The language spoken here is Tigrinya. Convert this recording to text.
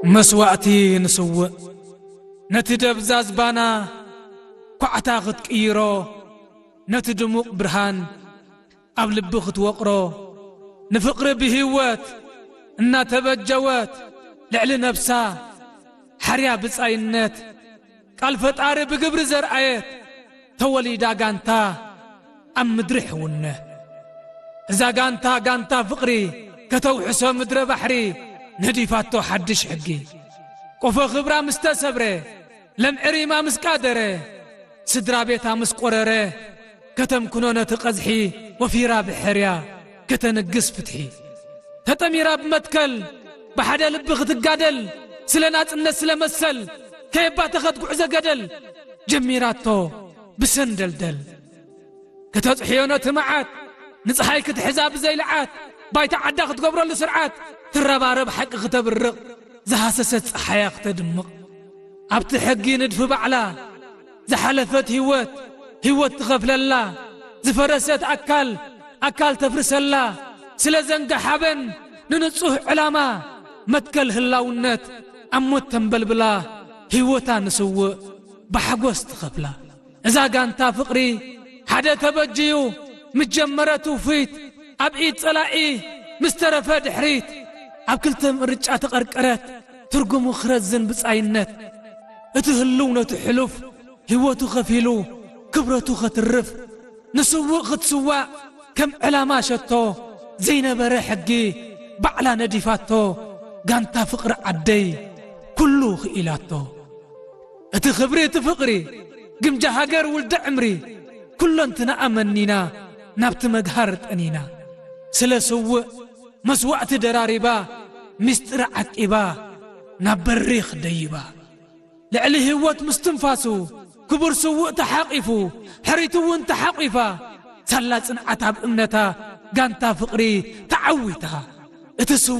መስዋእቲ ንስውእ ነቲ ደብዛዝ ባና ኳዕታ ክትቅይሮ፣ ነቲ ድሙቕ ብርሃን ኣብ ልቢ ክትወቕሮ፣ ንፍቕሪ ብህይወት እናተበጀወት፣ ልዕሊ ነብሳ ሓርያ ብጻይነት፣ ቃል ፈጣሪ ብግብሪ ዘርኣየት፣ ተወሊዳ ጋንታ ኣብ ምድሪ ሕውነት። እዛ ጋንታ፣ ጋንታ ፍቕሪ፣ ከተውሕሶ ምድረ ባሕሪ፣ ነዲፋቶ ሓድሽ ሕጊ። ቆፎ ክብራ ምስ ተሰብረ፣ ለምዕሪማ ምስ ቃደረ፣ ስድራ ቤታ ምስ ቆረረ፣ ከተምክኖ ነቲ ቀዝሒ፣ ወፊራ ብሕርያ ከተንግስ ፍትሒ። ተጠሚራ ብመትከል፣ ብሓደ ልቢ ክትጋደል፣ ስለ ናጽነት ስለ መሰል፣ ከየባተኸት ጉዕዞ ገደል፣ ጀሚራቶ ብሰንደልደል። ከተጽሕዮ ነቲ መዓት፣ ንጸሓይ ክትሕዛ ብዘይልዓት፣ ባይታ ዓዳ ክትገብረሉ ስርዓት፣ ትረባረብ ሓቂ ክተብርቕ፣ ዝሃሰሰት ጸሓያ ክተድምቕ። ኣብቲ ሕጊ ንድፊ ባዕላ፣ ዝሓለፈት ህይወት፣ ህይወት ትኸፍለላ፣ ዝፈረሰት ኣካል፣ ኣካል ተፍርሰላ፣ ስለ ዘንጋ ሓበን ንንጹህ ዕላማ፣ መትከል ህላውነት ኣብ ሞት ተንበልብላ፣ ህይወታ ንስውእ ብሓጎስ ትኸፍላ። እዛ ጋንታ ፍቕሪ ሓደ ተበጅዩ፣ ምስ ጀመረ ትውፊት፣ ኣብ ኢድ ጸላኢ ምስ ተረፈ ድሕሪት፣ ኣብ ክልተ ምርጫ ተቐርቀረት፣ ትርጉሙ ክረዝን ብጻይነት። እቲ ህልው ነቲ ሕሉፍ ህይወቱ ከፊሉ፣ ክብረቱ ከትርፍ፣ ንስውእ ክትስዋእ ከም ዕላማ ሸቶ፣ ዘይነበረ ሕጊ ባዕላ ነዲፋቶ፣ ጋንታ ፍቕሪ ዓደይ ኩሉ ክኢላቶ። እቲ ክብሪ፣ እቲ ፍቕሪ፣ ግምጃ ሃገር፣ ውልደ ዕምሪ፣ ኩለንትናኣ መኒና፣ ናብቲ መግሃር ጠኒና። ስለ ስውእ መስዋእቲ ደራሪባ፣ ምስጢር ዓቂባ፣ ናብ በሪኽ ደይባ። ልዕሊ ህይወት ምስትንፋሱ፣ ክቡር ስውእ ተሓቒፉ፣ ሕሪት እውን ተሓቒፋ፣ ሳላ ጽንዓት ኣብ እምነታ፣ ጋንታ ፍቕሪ ተዓዊታ። እቲ ስውእ